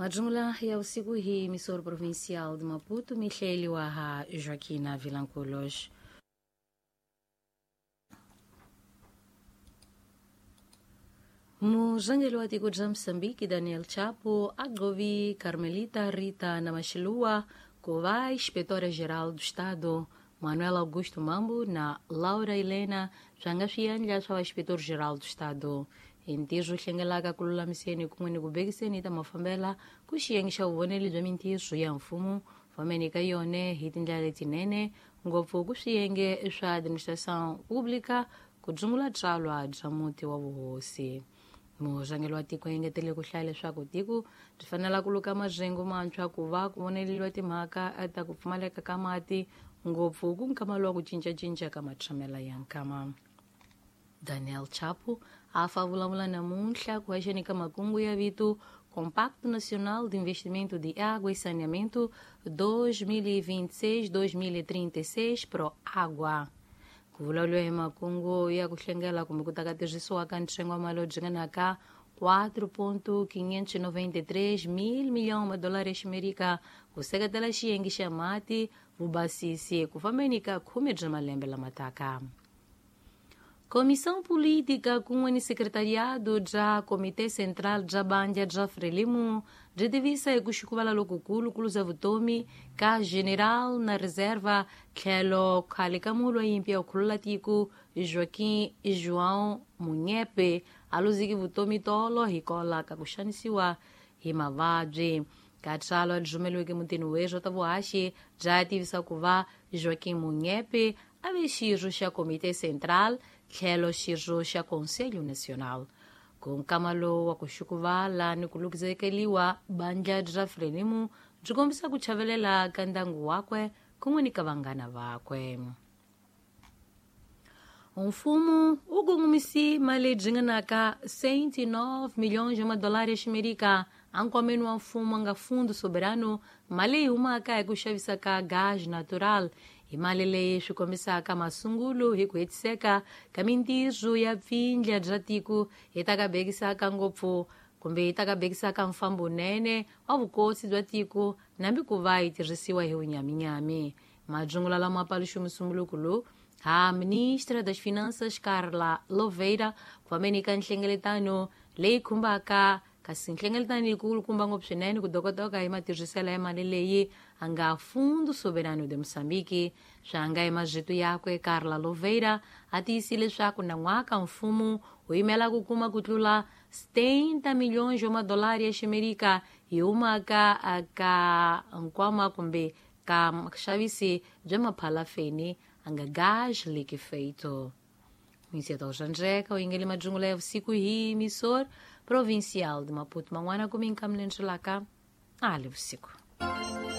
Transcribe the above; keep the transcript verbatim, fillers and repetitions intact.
Majungula ya usiku hii Emissora Provincial de Maputo, mihleliwa ha Joaquina Vilanculos. Muzangeli wa tiko bya Moçambique Daniel Chapo agovi Carmelita Rita Namashilua ku va Inspetora-Geral do Estado Manuel Augusto Mambo na Laura Helena swa nga swiendla swa Inspetor-Geral do Estado. Hi ntirho hlengelaka ku lulamiseni kun'we ni ku bekiseni ta mafambela ku xiyenge xa vuvoneli bya mintirho ya mfumo fambeni ka yone hi tindlela letinene ngopfu ku swiyenge swa administração pública ku dzungula tsalwa bya muti wa vuhosi. Murhangeri wa tiko engetele ku hlaya leswaku tiko byi fanele ku luka majengo mantshwa ku va ku voneleliwa timhaka ta ku pfumaleka ka mati ngopfu ku nkama lowa ku cincacinca ka matshamela ya nkama. Daniel Chapo a fa vulavula namuntlha ku haxeni ka makungu ya vito Compacto Nacional de Investimento de Água e Saneamento dois mil e vinte e seis dois mil e trinta e seis Pro Água. Ku vulavuriwa hi makungu ya ku hlengela kumbe ku taka tirhisiwa ka ntsengo wa mali yo dzinganaka quatro ponto quinhentos e noventa e três mil milhão ma dólar ya ximerika ku seketela xiyenge xa mati vubasisi ku fambeni ka khume bya malembe lama taka. Comissão Política kun'we ni Secretariado bya Comitê Central bya Bandla bya Frelimo byi tivisa hi ku xikuvala lokukulu ku luza vutomi ka General na Reserva tlhelo khale ka mulwa yimpi ya ku khulula tiko Joaquim João Munyepe a luziki vutomi tolo hikola ka ku xanisiwa hi mavabyi. Ka tsalwa ri rhumeriweke mutini weswo ta vuhaxi bya tivisa ku va Joaquim Munyepe a ve xirho xa Comitê Central tlhelo xirho xa Conselho Nacional. Ku nkama lowu wa ku xukuvala ni ku lukizekeliwa bandla bya Frelimo byi kombisa ku chavelela ka ndyangu wakwe kun'we ni ka vanghana vakwe. Mfumo wu kongomisi mali leyi ringanaka cento e nove milhões de madolari ya ximerika enkwameni wa mfumo nga Fundo Soberano, mali leyi humaka hi ku xavisa ka gaz natural. Hi mali leyi swi kombisaka masungulo hi ku hetiseka ka mintirho ya pfindla bya tiko hi ta ka bekisaka ngopfu kumbe yi ta ka bekisaka mfambonene wa vukosi bya tiko nambi ku va yi tirhisiwa hi vunyaminyami. Majungula lama paluxa musumbuluko lowu ha Ministra das Finanças Carla Loveira ku fambeni ka nhlengeletano leyi khumbaka kasi nhlengeletano yikulu kumba ngopfu swinene ku dokotoka hi matirhiselo ya mali leyi a nga Fundo Soberano de Moçambique. Swa nga hi mazito yakwe Carla Loveira a tiyisile leswaku nan'waka mfumo wu yimela ku kuma ku tlula setenta milhões de madolari ya ximerika hi humaka ka nkwama kumbe ka xavisi bya maphalafeni a nga gás liquefeito. Minseta Xandreka, o ingele majungula ya vusiku hi Emissora Provincial de Maputo. Man'wana ku minkamlenxelaka ali vusiku.